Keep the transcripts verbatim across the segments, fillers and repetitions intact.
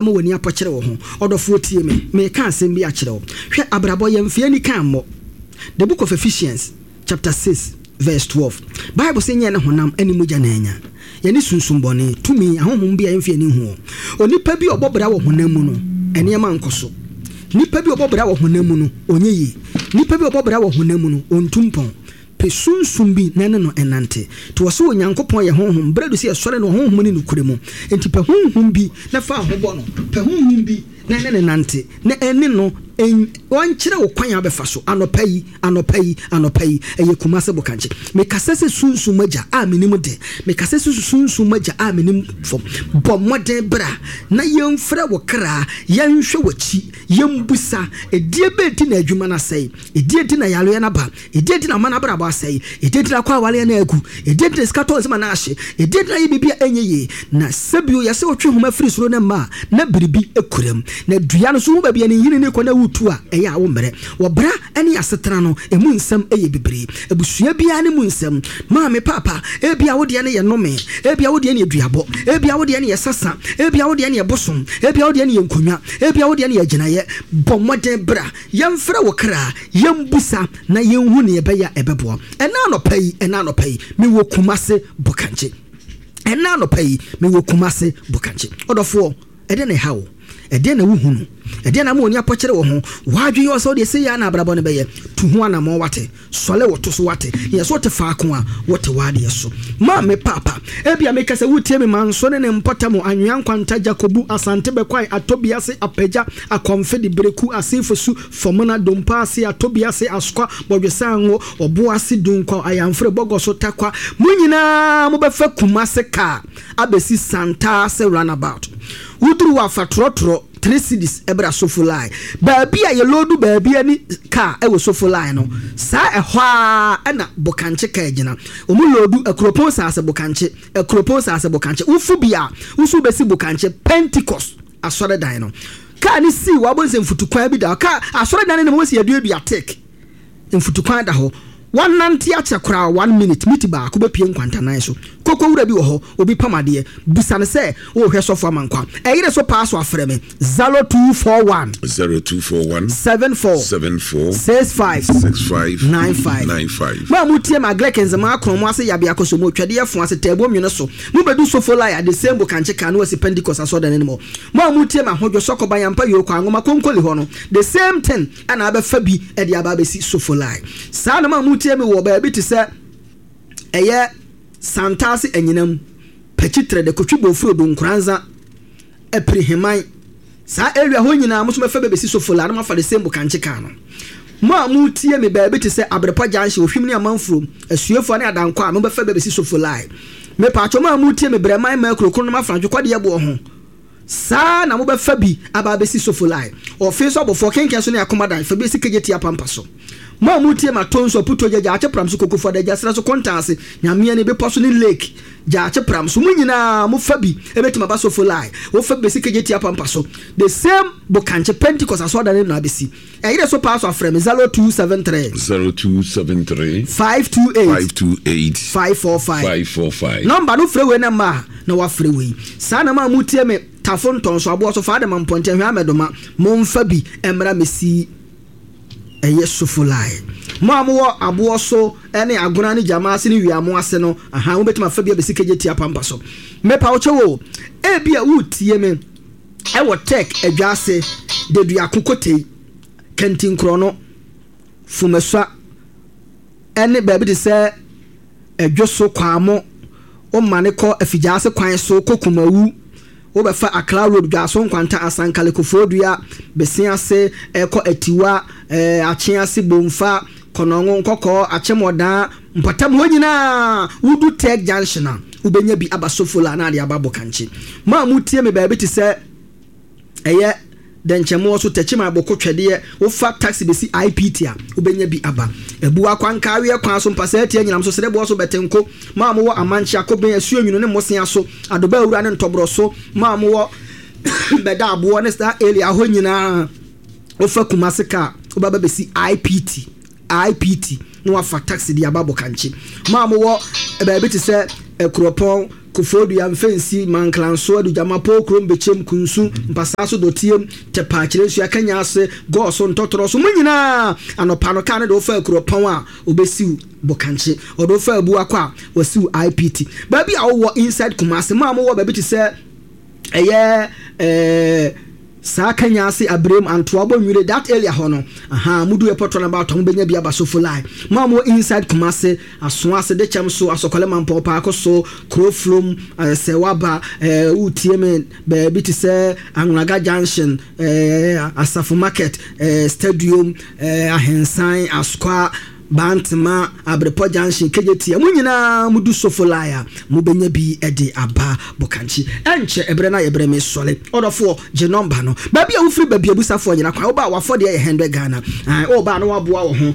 Ma w'ani apɔkyere wo ho. Ɔdɔfoɔ, tie me, mereka asɛm bi akyerɛ wo. Hwɛ, abrabɔ, yɛmfa ani ka mmɔ. The Book of Ephesians chapter six verse twelve, Bible sɛ nyɛ ne honam ne mogya na anya. Yɛne sunsum bɔne, tumi, ahonhom bi a yɛmfa yɛn ani nhu wɔn. Onipa bi a ɔbɔ bra wɔ honam mu no, nneɛma nkɔ so. Nipa bi a ɔbɔ bra wɔ honam mu no, ɔnyɛ yie. Nipa bi a ɔbɔ bra wɔ honam mu no, ɔntu mpɔn. Pɛ sunsum bi na ɛne no nnante. Nti wɔse Onyankopɔn yɛ Honhom, berɛ adu sɛ yɛsɔre no wɔ Honhom ne nokorɛ mu. Enti pɛ Honhom bi na fa wo ho bɔ no. Pɛ Honhom bi na ɛne no nante, na ɛne no ɔnkyerɛ wo kwan a wobɛfa so. Anɔpa yi, anɔpa yi, anɔpa yi, ɛyɛ Kumase Bokankye. Mekasa sɛ Sunsum Agya a menim de. Mekasa sɛ Sunsum Agya a menim fam. Bɔ mmɔden bra na yɛmfrɛ wo kra, yɛnhwɛ w'akyi, yɛmbusa, ɛdeɛ bɛn nti na adwuma no asɛe? Ɛdeɛn nti na yareɛ no aba? Ɛdeɛn nti na aman abrabɔ asɛe? Ɛdeɛn nti na akɔ awareɛ no agu? Ɛdeɛn nti na sika tɔ nsam anaa ahye? Ɛdeɛn nti na ayɛ biribi a ɛnyɛ yie? Na sɛ bio yɛsɛ wotwe nhoma firi soro na mma a, na biribi kura mu. Na dua no nso, wohu baabi a ne nhini no rekɔ na woretu a, ɛyɛ a wommrɛ. Wɔ bra ne asetena no, ɛmu nsɛm yɛ bebree. Abusua biara ne mu nsɛm. Maame, paapa, ebia wo deɛ no yɛ nnome, ebia wo deɛ no yɛ duabɔ, ebia wo deɛ no yɛ sasa, ebia wo deɛ no yɛ bosom, ebia wo deɛ no yɛ nkonnwa, ebia wo deɛ no yɛ agyinaeɛ. Bɔ mmɔden bra. Yɛmfrɛ wo kra, yɛmbusa na yɛnhu nea ɛbɛyɛ a ɛbɛboa. Ɛnnɛ anɔpa yi, ɛnnɛ anɔpa yi, mewɔ Kumase Bokankye. Ɛnnɛ anɔpa yi, mewɔ Kumase Bokankye. Ɔdɔfoɔ, ɛdeɛn na ɛha wo? Ɛdeɛn na wohunu? Ɛdeɛn na ama w'ani apɔkyere wo ho? W'adwene yɛ wo sɛ wodeɛ sei ara na abrabɔ no bɛyɛ. Tu ho anammɔn, wate? Sɔle wo to so wate, yɛ so wote faako a wote w'adeɛ so. Maame Paapa, ebia meka sɛ woretie me Manso ne ne mpɔtam, Anwea Nkwanta, Jakobu, Asante Bɛkwae, Atɔbiase, Apagya, Akɔmfede, Bereku, Asefosu, Fɔmona, Dompaase, Atɔbiase, Askwa, Bɔdwesango, Ɔboase, Dunkwaw, Ayanfre, Bɔgɔso, Takwa, mo nyinaa mobɛfa Kumase kaa abɛsi Santaase Runabout. Woduru hɔ a fa trɔtrɔ three cedis bra Sofo line. Baabi a yɛloodu baabi ani kaa wɔ Sofo line no, saa ɛhɔ ara na Bokankye kaa gyina. Wɔn loodu Akuropɔn Saase Bokankye, Akuropɔn Saase Bokankye. Wofu bi a, wo nso wobɛsi Bokankye Pentecost asɔredan no. Kaa no sii hɔ a, wobɛhu sɛ mfutukwan bi da hɔ. Kaa asɔredan no anim hɔ si yɛaduadua teak. Mfutukwan da hɔ. Woanante akyɛ koraa one minute, miti baako bɛpue nkwantanan so. Koko wura bi wɔ hɔ, obi pam adeɛ. Bisa no sɛ worehwɛ Sɔfo Amankwa. Ɛyere so paa so afrɛ me, zero two four one. Zero two four one. Seven four. Seven four. Six five. Six five. Nine five. Nine five. Mo a motie me Agric Nzemaa Akron mo ase Yabea Kosomo Twɛdeɛ Fo ase Taabuo Nwene so. Mo bɛdu Sofolai a the same Bokankye car no asi Pentecost asɔrdan anim hɔ. Mo a motie me Ahodwo Sɔkɔ Bayampa Yoko Anwoma Konkoli hɔ no, the same thing. Ɛna abɛfa bi de aba abɛsi Sofolai. Saa na mo a motie me wɔ baabi te sɛ ɛyɛ Santase Anyinam, Pakyi Trɛdɛ, Kotwi Bofuro, Donkoranza, Apiri Heman, saa area hɔ nyinaa mo nso mɛfa bi abɛsi Sofolai na moafa the same Bokankye car no. Mo a motie me baabi te sɛ Abrepɔ Junction, Ohwim ne Amanfurom, Asuefua ne Adankwa a mobɛfa bi abɛsi Sofolai. Mepatwɔ mo a motie me Brɛman, Makuro, Kronom, Afrantwe, Kɔdeɛ Boɔ ho. Saa ara na mobɛfa bi aba abɛsi Sofolai, ɔfe so abɔfoɔ, kɛnkɛn so ne akomadan, fa bi asi Kejetia apampa so. Mo a motie me atɔ nsu, aputuo gya, gyaakye pram so, kokofo adagya, serɛ so, kontan ase, Nyameani, bepɔ so ne lake, gyaakye pram so, mo nyinaa mofa bi bɛtumi aba Sofolai, wofa bi bɛsi Kejetia apampa so. The same Bokankye Pentecost asɔredan no na abɛsi. Ɛyere so paa so afrɛ me zero two seven three. Zero two seven three. Five two eight. Five two eight. Five four five. Five four five. Nɔmba no frɛ wei na mma a na wafrɛ wei. Saa na mo a motie me Tafo Ntɔnso Aboɔ so Faadema Mpɔnten Hwɛ Amɛdoma momfa bi mmra mɛsi ɛyɛ Sofolai. Mo a mowɔ Aboɔ so ne Agona ne Gyama ase ne Wiamo ase no ahaa mobɛtumi afa bi abɛsi Kegyetia Pampa so. Mepa wo kyɛw o, ebia woretie me. Ɛwɔ Tech Adwaase, Deduako Kotei, Kantinkorɔno, Fumasua ne baabi te sɛ Adwoso, Kwamo, womane kɔ Afigyaase kwan so kɔ Kumawu, wobɛfa Accra Road, Dwaso Nkwanta, Asankale, Kofoɔdua, Besease, ɛkɔ Atiwa, Akyease, Bomfa, Kɔnɔngo, Nkɔkɔɔ, Akyem-Ɔdaa, mpɔtam hɔ nyinaa, wodu Tech Junction a, wobɛnya bi aba Sofola na ade aba Bokankye. Mo a motie me baabi te sɛ ɛyɛ Dɛnkyɛmmoɔ so, Techiman, Aboko, Twɛdeɛ, wofa taxi bɛsi I P T a, wobɛnya bi aba. Abua, Kwanka, Aweɛ kwan so, Mpasaa Tia, Nyinam so, Sereboɔ so, Bɛtenko, mo a mowɔ Amankyea, Koben, Asuonwunu ne Mmosea so, Adobaa Awura ne Ntɔborɔ so, mo a mowɔ Bɛda Aboɔ ne saa area hɔ nyinaa, wofa Kumase kaa, wobɛba bɛsi I P T. I P T na wafa taxi de aba Bokankye. Mo a mowɔ baabi te sɛ Akuropɔn, Koforidua, Mfensi, Manklanso, Adugyama, Pookrom, Bekyem, Kunsu, Mpasaa so, Dɔtiem, Tɛpa, Kyerɛnsua, Kanya ase, Gɔɔso, Ntɔtorɔ so, mo nyinaa anɔpa no kaa no de wofa Akuropɔn a, obɛsiw Bokankye, ɔde wofa Abuakɔ a, wasiw I P T. Baabi a wowɔ inside Kumase, mo a mowɔ baabi te sɛ ɛyɛ ɛɛ saa Kanya ase, Abrem, Antoa, Bɔnwire, that area hɔ no, aha mudu airport roundabout a, mobɛnya bi aba Sofoline. Mo a mowɔ inside Kumase, Asoa ase, Dekyɛm so, Asɔkɔlɛ, Mampɔ, Paako so, Kuro Flom, ɛɛ sɛ waba ɛɛ wotie me baabi te sɛ Anwunaga Junction, ɛɛ Asafo Market, ɛɛ Stadium, ɛɛ Ahensan, Asokwa, Bantema, Abrepɔ Junction, Kejetia, mo nyinaa mudu Sofoline a, mobɛnya bi de aba Bokankye. Ɛnkyɛ ɛberɛ no a yɛbrɛ me sɔle. Ɔdɔfoɔ, gye nɔmba no. Baabi a wofiri baabi abusafoɔ nyina kwan, woba a wafɔdeɛ yɛ hundred Ghana. Woba no waboa wo ho.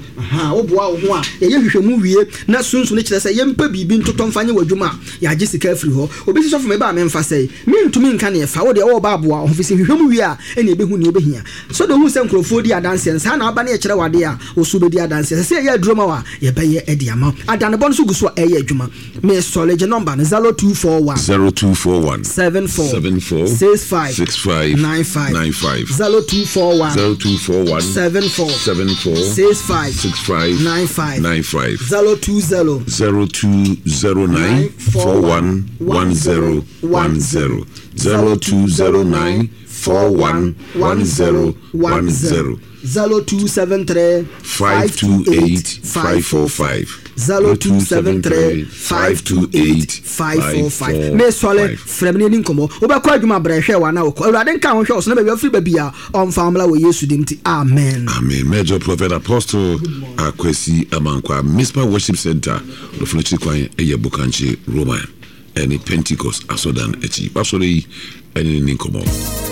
Woboa wo ho a, yɛyɛ hwehwɛmu wie na sunsun no kyerɛ sɛ yɛmpɛ biribi ntotɔ mfa nyɛ w'adwuma a, yɛagye sika afiri hɔ. Obi si sɔfo meba a memfa sɛe. Mentumi nka neɛ fa. Wo deɛ wɔba aboa wo ho fi sɛ hwehwɛmu wie a, ɛne ɛbɛhu neɛ wobɛhia. So de ohu sɛ nkurɔfoɔ di adanseɛ no, saa na aba ne yɛkyerɛ wadeɛ a, wo so wobɛdi adanseɛ. Sɛ sɛ ɛyɛ aduro ma wo a, yɛbɛyɛ de ama wo. Adanebɔ no so gu so a ɛyɛ adwuma. Mesɔre, gye nɔmba no, zero two four one zero two four one seven four seven four six five six five nine five nine five. zero two four one zero two four one seven four seven four six five six five nine five. nine five. zero two zero zero two zero nine four one one zero one zero, zero two zero nine four one one zero one zero. zero two seven three five two eight five four five. zero two seven three five two eight five four five. Mesɔle, frɛ me ne ani nkɔmmɔ. Wobɛkɔ adwuma, brɛ hwɛ wa na wokɔ. Awurade nka ho hwɛ wo so na baabi afiri baabi a ɔmfa mmla wɔ Yesu dim nti, amen. Amen. Major Prophet Apostle Akwasi Amankwa, Mispa Worship Center, ɔdɔfo no akyiri kwan ɛyɛ Bokankye Roman ɛne Pentecost asɔdan akyi. Wasɔre yi ɛne ne ni nkɔmmɔ.